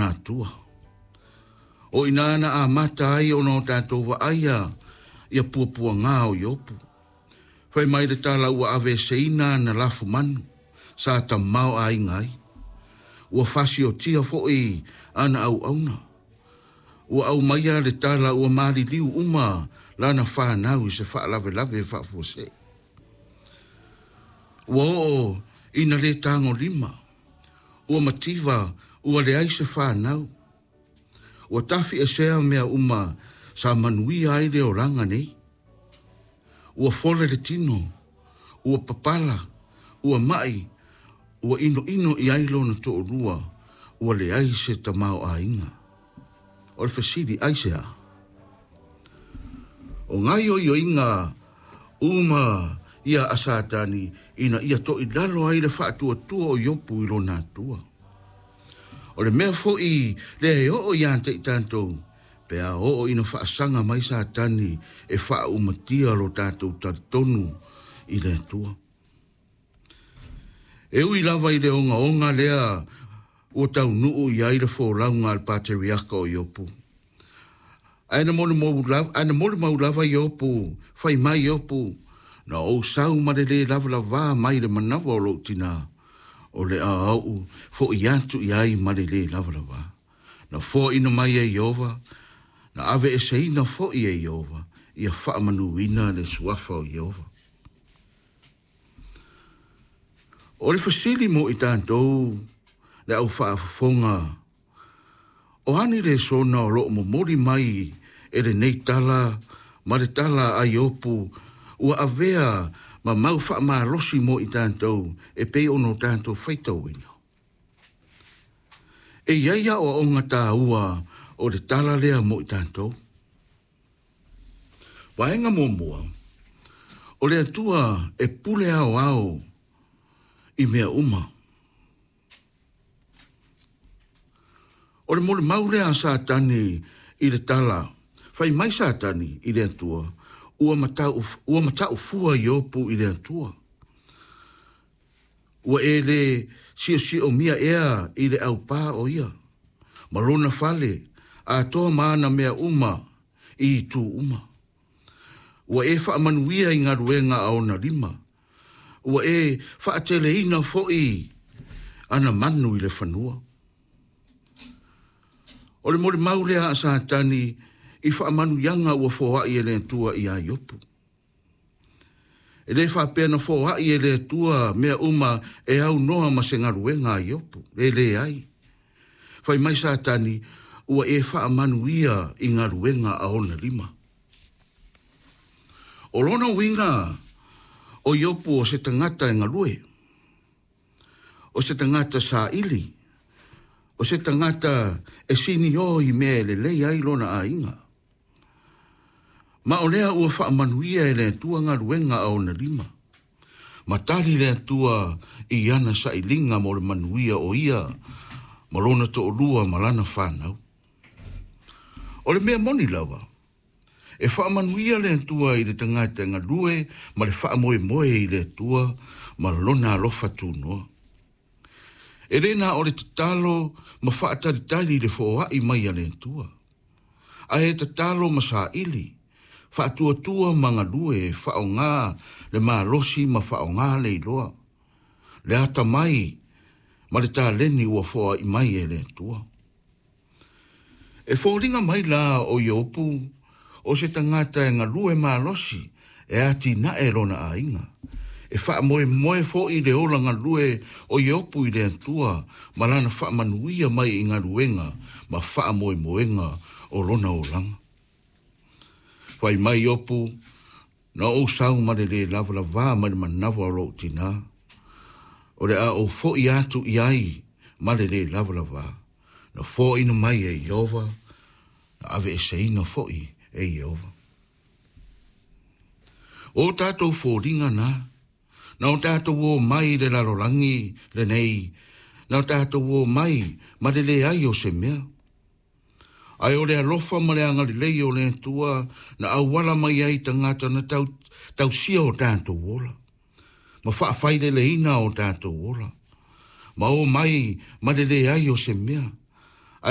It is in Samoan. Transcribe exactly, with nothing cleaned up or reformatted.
lona Atua. O ina na amata ai ona o tatou vaaia ia puapuaga o Iopu. Fai mai le tala ua aveeseina ana lafumanu sa tamaoaiga ai. Ua fasiotia foʻi ana auauna. Ua aumaia le tala ua maliliu uma lana fanau i se faalavelave faafuasei. Ua oo ina lē tagolima. Ua mativa ua leai se fanau. Ua tafiesea mea uma sa manuia ai le olaga nei. Ua fole le tino, ua papala, ua maʻi, ua inoino i ai lona toalua, ua leai se tamaoaiga. O le fesili aisea? O gaoioiga uma ia a Satani ina ia toʻilalo ai le faatuatua o Iopu i lona Atua. O le mea foʻi lea e oo iā te i tatou, pe a oo ina faasaga mai Satani e faaumatia lo tatou talitonu i le Atua. E ui lava i le ogaoga lea ua taunuu i ai le folauga a le pateriaka o Iopu. Ae na molimau lava, ae na molimau lava Iopu, fai mai Iopu, na ou sau ma le lē lavalavā mai le manava o lou tinā, o le a ou foʻi atu i ai ma le lē lavalavā. Na foaina mai e Ieova, na aveeseina foʻi e Ieova, ia faamanuina le suafa o Ieova. O le fesili mo i tatou le au faafofoga, o ani lesona o loo momoli mai e lenei tala ma le tala a Iopu ua avea ma mau faamalosi mo i tatou e pei ona o tatou faitauina. E iai aoaoga taua o le tala lea mo i tatou. Vaega muamua, o le Atua e pule aoao i mea uma. O le molimau lea a Satani i le tala, fai mai Satani i le Atua, ua matau, ua mataufua Iopu i le Atua. Ua e le siosiomia ea i le aupā o ia, ma lona fale, atoa ma ana mea uma i itu uma. Ua e faamanuia i galuega a ona lima. Ua e faateleina foʻi ana manu i le fanua. O le molimau lea a Satani i faamanuiaga ua foaʻi e le Atua iā Iopu. E lē faapea na foaʻi e le Atua mea uma e aunoa ma se galuega a Iopu. E leai. Fai mai Satani, ua e faamanuia i galuega a ona lima. O lona uiga o Iopu o se tagata e galue, o se tagata saili, o se tagata e siniō i mea e lelei ai lona aiga. Ma o lea ua faamanuia e le Atua galuega a ona lima. Ma tali le Atua i ana sailiga mo le manuia o ia ma lona toalua ma lana fanau. O le mea moni lava, e faamanuia le Atua i le tagata e galue ma le faamoemoe i le Atua ma lona alofa tunoa. E lē na o le tatalo ma faatalitali le foaʻi mai a le Atua. Ae tatalo ma saili, faatuatua ma galue e faaaogā le malosi ma faaaogā le iloa. Le atamai ma le taleni ua foaʻi mai e le Atua. E foliga mai la o Iopu o se tagata e galue malosi e atinae lona aiga. E faamoemoe foʻi le ola galue o Iopu i le Atua ma lana faamanuia mai i galuega ma faamoemoega o lona olaga. Fai mai Iopu, na ou sau ma le lē lavalavā mai le manava o lou tinā. O le a ou foʻi atu i ai ma le lē lavalavā. Na foaina mai e Ieova, na aveeseina foʻi e Ieova. O tatou foliga na, na o tatou o mai i le lalolagi lenei, na o tatou o mai ma le leai o se mea. Ae o le alofa ma le agalelei o le Atua na auala mai ai tagata na tau, tausia o tatou ola. Ma faafaileleina o tatou ola. Ma o mai ma le leai o se mea.